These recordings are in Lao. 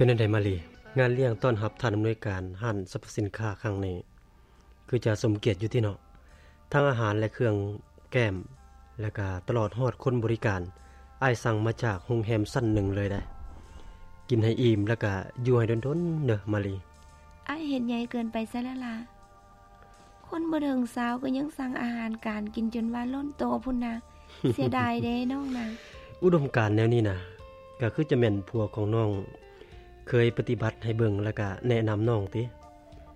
ປັນຈັ່ງໃດມາລີ? ງານລ້ຽງຕ້ອນຮັບທ່ານອຳນວຍການຮ້ານສັບພະສິນຄ້າຄັ້ງນີ້ ຄືຈະສົມກຽດຢູ່ຕິເນາະ. ທັງອາຫານ ແລະ ເຄື່ອງແກ້ມ ແລະ ກະຕະຫຼອດຮອດຄົນບໍລິການ ອ້າຍສັ່ງມາຈາກໂຮງແຮມຊັ້ນໜຶ່ງເລີຍໄດ໋. ກິນໃຫ້ອີ່ມ ແລະ ກະຢູ່ໃຫ້ດົນໆເດີມາລີ. ອ້າຍເຮັດໃຫຍ່ເກີນໄປຊະແລ້ວລະ. ຄົນບໍ່ເຖິງຊາວກໍຍັງສັ່ງອາຫານການກິນຈົນວ່າລົ້ນໂຕພຸ້ນນະ. ເສຍດາຍເດ້ນ້ອງນະ. ອຸດົມການແນວນີ້ນະ ກໍຄືຈະແມ່ນຜົວຂອງນ້ອງເຄີຍປະຕິບັດໃຫ້ເບິ່ງ ແລ້ວກະແນະນຳນ້ອງຕິ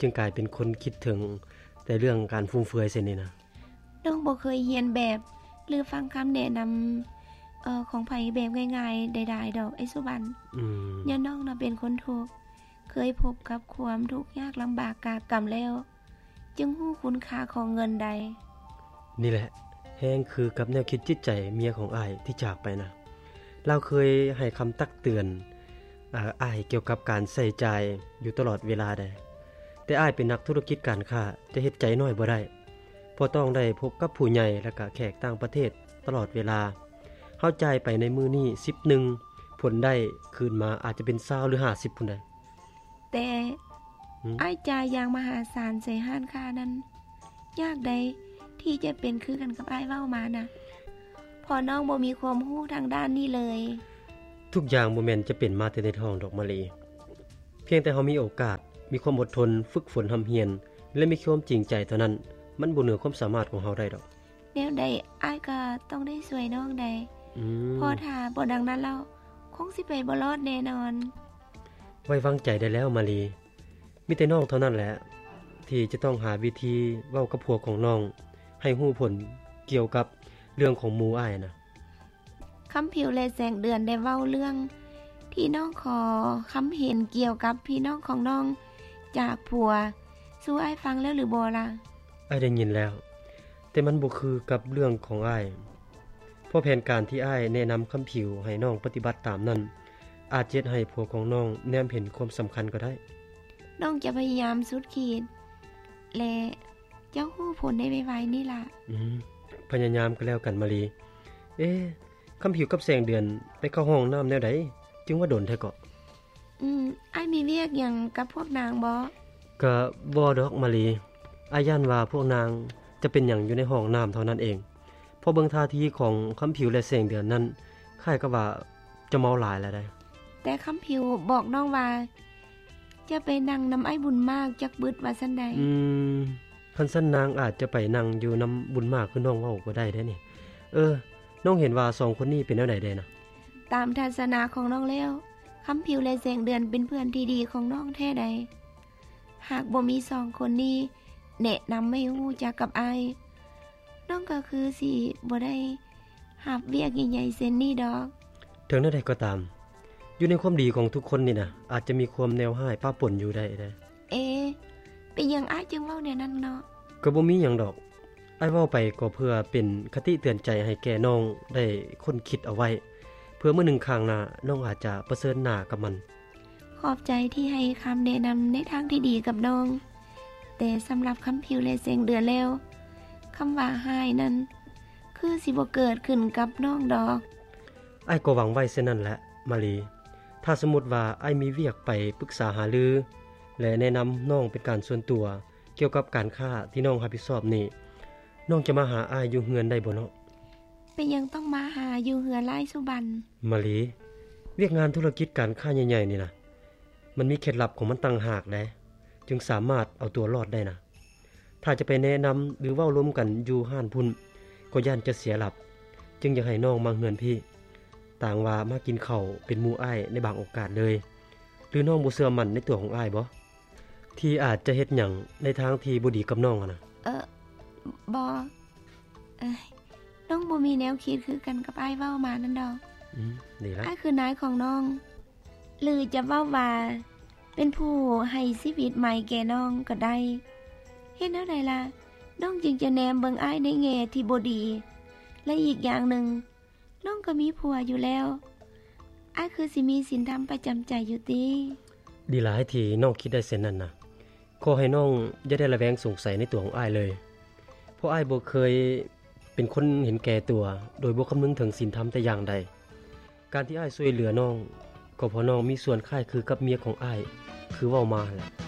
ຈຶ່ງກາຍເປັນຄົນຄິດເຖິງແຕ່ເລື່ອງການຟຸມເຟືອຍເຊັ່ນນີ້ນະ. ນ້ອງບໍ່ເຄີຍຮຽນແບບ ຫຼື ຟັງຄຳແນະນຳ ເອີ ຂອງໃຜແບບງ່າຍໆໃດໆດອກ ອ້າຍສຸບັນ. ອືມ ຍ້ອນນ້ອງນະເປັນຄົນທຸກ ເຄີຍພົບກັບຄວາມທຸກຍາກລຳບາກກາກຳແລ້ວ ຈຶ່ງຮູ້ຄຸນຄ່າຂອງເງິນໄດ້. ນີ້ແຫຼະ ແຮງຄືກັບແນວຄິດຈິດໃຈເມຍຂອງອ້າຍທີ່ຈາກໄປນະ. ລາວເຄີຍໃຫ້ຄຳຕັກເຕືອນ ເອີ ອ້າຍກ່ຽວກັບການໃຊ້ຈ່າຍຢູ່ຕະຫຼອດເວລາໃດ໋. ແຕ່ອ້າຍເປັນນັກທຸລະກິດການຄ້າ ຈະເຮັດໃຈນ້ອຍບໍ່ໄດ້ ເພາະຕ້ອງໄດ້ພົບກັບຜູ້ໃຫຍ່ ແລະ ກະແຂກຕ່າງປະເທດຕະຫຼອດເວລາ. ເຮົາຈ່າຍໄປໃນມື້ນີ້ສິບໜຶ່ງ ຜົນໄດ້ຄືນມາອາດຈະເປັນຊາວ ຫຼື ຫ້າສິບພຸ້ນໃດ໋. ແຕ່ ຫືມ? ອ້າຍຈ່າຍຢ່າງມະຫາສານໃສ່ຮ້ານຄ້ານັ້ນ ຍາກໃດທີ່ຈະເປັນຄືກັນກັບອ້າຍເວົ້າມານະ ເພາະນ້ອງບໍ່ມີຄວາມຮູ້ທາງດ້ານນີ້ເລີຍ. ທຸກຢ່າງບໍ່ແມ່ນຈະເປັນມາແຕ່ໃນທ້ອງດອກມາລີ. ພຽງແຕ່ເຮົາມີໂອກາດ, ມີຄວາມອົດທົນ, ຝຶກຝົນຮ່ຳຮຽນ ແລະ ມີຄວາມຈິງໃຈເທົ່ານັ້ນ, ມັນບໍ່ເໜືອຄວາມສາມາດຂອງເຮົາໄດ້ດອກ. ແນວໃດອ້າຍກໍຕ້ອງໄດ້ຊ່ວຍນ້ອງໄດ໋. ອືມ ເພາະຖ້າບໍ່ດັ່ງນັ້ນແລ້ວ ຄົງຊິໄປບໍ່ລອດແນ່ນອນ. ໄວ້ວາງໃຈໄດ້ແລ້ວມາລີ. ມີແຕ່ນ້ອງເທົ່ານັ້ນແຫຼະ ທີ່ຈະຕ້ອງຫາວິທີເວົ້າກັບຜົວຂອງນ້ອງ ໃຫ້ຮູ້ຜົນກ່ຽວກັບເລື່ອງຂອງໝູ່ອ້າຍນະ. ຄຳຜິວ ແລະ ແສງເດືອນໄດ້ເວົ້າເລື່ອງທີ່ນ້ອງຂໍຄຳເຫັນກ່ຽວກັບພີ່ນ້ອງຂອງນ້ອງຈາກຜົວສູ່ອ້າຍຟັງແລ້ວຫຼືບໍ່ລະ? ອ້າຍໄດ້ຍິນແລ້ວ, ແຕ່ມັນບໍ່ຄືກັບເລື່ອງຂອງອ້າຍ. ເພາະແຜນການທີ່ອ້າຍແນະນຳຄຳຜິວໃຫ້ນ້ອງປະຕິບັດຕາມນັ້ນ ອາດເຮັດໃຫ້ຜົວຂອງນ້ອງແນມເຫັນຄວາມສຳຄັນກໍໄດ້. ນ້ອງຈະພະຍາຍາມສຸດຂີດ ແລະ ເຈົ້າຮູ້ຜົນໄດ້ໄວໆນີ້ລະ. ອືມ ພະຍາຍາມກໍແລ້ວກັນມາລີ. ເອ ຄຳຜິວກັບແສງເດືອນໄປເຂົ້າຫ້ອງນ້ຳແນວໃດ ຈຶ່ງວ່າດົນແທ້ເກາະ? ອືມ ອ້າຍມີວຽກຫຍັງກັບພວກນາງບໍ? ກະບໍ່ດອກມາລີ, ອ້າຍຢ້ານວ່າພວກນາງຈະເປັນຫຍັງຢູ່ໃນຫ້ອງນ້ຳເທົ່ານັ້ນເອງ. ເພາະເບິ່ງທ່າທີຂອງຄຳຜິວ ແລະ ແສງເດືອນນັ້ນ ຄ້າຍກັບວ່າຈະເມົາຫຼາຍແລ້ວໃດ໋. ແຕ່ຄຳຜິວບອກນ້ອງວ່າ ຈະໄປນັ່ງນຳອ້າຍບຸນມາກຈັກບຶດວ່າຊັ້ນໃດ໋. ອືມ ຄັນຊັ້ນນາງອາດຈະໄປນັ່ງຢູ່ນຳບຸນມາກຄືນ້ອງເວົ້າກໍໄດ້ເດ້ນີ້. ເອີ ນ້ອງເຫັນວ່າສອງຄົນນີ້ເປັນແນວໃດແດ່ນະ? ຕາມທັດສະນະຂອງນ້ອງແລ້ວ ຄຳຜິວ ແລະ ແສງເດືອນເປັນເພື່ອນທີ່ດີຂອງນ້ອງແທ້ໃດ໋. ຫາກບໍ່ມີສອງຄົນນີ້ແນະນຳໃຫ້ຮູ້ຈັກກັບອ້າຍ ນ້ອງກໍຄືຊິບໍ່ໄດ້ຮັບວຽກໃຫຍ່ໆເຊັ່ນນີ້ດອກ. ເຖິງແນວໃດກໍຕາມ, ຢູ່ໃນຄວາມດີຂອງທຸກຄົນນີ້ນະ ອາດຈະມີຄວາມແນວຮ້າຍປະປົນຢູ່ໄດ້ເດ້. ເອ ເປັນຫຍັງອ້າຍຈຶ່ງເວົ້າແນວນັ້ນເນາະ? ກໍບໍ່ມີຫຍັງດອກ, ອ້າຍເວົ້າໄປກໍເພື່ອເປັນຄະຕິເຕືອນໃຈໃຫ້ແກ່ນ້ອງໄດ້ຄົ້ນຄິດເອົາໄວ້, ເພື່ອມື້ໜຶ່ງຂ້າງໜ້າ ນ້ອງອາດຈະປະເຊີນໜ້າກັບມັນ. ຂອບໃຈທີ່ໃຫ້ຄຳແນະນຳໃນທາງທີ່ດີກັບນ້ອງ, ແຕ່ສຳລັບຄຳຜິວ ແລະ ແສງເດືອນແລ້ວ, ຄຳວ່າຮ້າຍນັ້ນ ຄືຊິບໍ່ເກີດຂຶ້ນກັບນ້ອງດອກ. ອ້າຍກໍຫວັງໄວ້ເຊັ່ນນັ້ນແຫຼະ ມາລີ. ຖ້າສົມມຸດວ່າອ້າຍມີວຽກໄປປຶກສາຫາລື ແລະ ແນະນຳນ້ອງເປັນການສ່ວນຕົວ ກ່ຽວກັບການຄ້າທີ່ນ້ອງຮັບຜິດຊອບນີ້, ນ້ອງຈະມາຫາອ້າຍຢູ່ເຮືອນໄດ້ບໍ່ເນາະ? ເປັນຫຍັງຕ້ອງມາຫາຢູ່ເຮືອນລະອ້າຍສຸບັນ? ມາລີ, ວຽກງານທຸລະກິດການຄ້າໃຫຍ່ໆນີ້ນະ, ມັນມີເຄັດລັບຂອງມັນຕ່າງຫາກໃດ໋, ຈຶ່ງສາມາດເອົາຕົວລອດໄດ້ນະ. ຖ້າຈະໄປແນະນຳ ຫຼື ເວົ້າລົມກັນຢູ່ຮ້ານພຸ້ນ ກໍຢ້ານຈະເສຍຫຼັບ, ຈຶ່ງຢາກໃຫ້ນ້ອງມາເຮືອນພີ້. ຕ່າງວ່າມາກິນເຂົ້າເປັນໝູ່ອ້າຍໃນບາງໂອກາດເລີຍ. ຫຼື ນ້ອງບໍ່ເຊື່ອໝັ້ນໃນຕົວຂອງອ້າຍບໍ? ທີ່ອາດຈະເຮັດຫຍັງໃນທາງທີ່ບໍ່ດີກັບນ້ອງຫັ້ນນະ? ເອີ ບໍ່. ເອີຍ ນ້ອງບໍ່ມີແນວຄິດຄືກັນກັບອ້າຍເວົ້າມານັ້ນດອກ. ອືມ ດີລະ. ອ້າຍຄືນາຍຂອງນ້ອງ ຫຼືຈະເວົ້າວ່າເປັນຜູ້ໃຫ້ຊີວິດໃໝ່ແກ່ນ້ອງກໍໄດ້. ເຮັດແນວໃດລະ ນ້ອງຈຶ່ງຈະແນມເບິ່ງອ້າຍໃນແງ່ທີ່ບໍ່ດີ? ແລະ ອີກຢ່າງໜຶ່ງ, ນ້ອງກໍມີຜົວຢູ່ແລ້ວ, ອ້າຍຄືຊິມີສິນທຳປະຈຳໃຈຢູ່ຕິ? ດີຫຼາຍທີ່ນ້ອງຄິດໄດ້ເຊັ່ນນັ້ນນະ. ຂໍໃຫ້ນ້ອງຢ່າໄດ້ລະແວງສົງໄສໃນຕົວຂອງອ້າຍເລີຍ, ເພາະອ້າຍບໍ່ເຄີຍເປັນຄົນເຫັນແກ່ຕົວ ໂດຍບໍ່ຄຳນຶງເຖິງສິນທຳແຕ່ຢ່າງໃດ. ການທີ່ອ້າຍຊ່ວຍເຫຼືອນ້ອງ ກໍເພາະນ້ອງມີສ່ວນຄ້າຍຄືກັບເມຍຂອງອ້າຍ ຄືເວົ້າມາຫັ້ນແຫຼະ.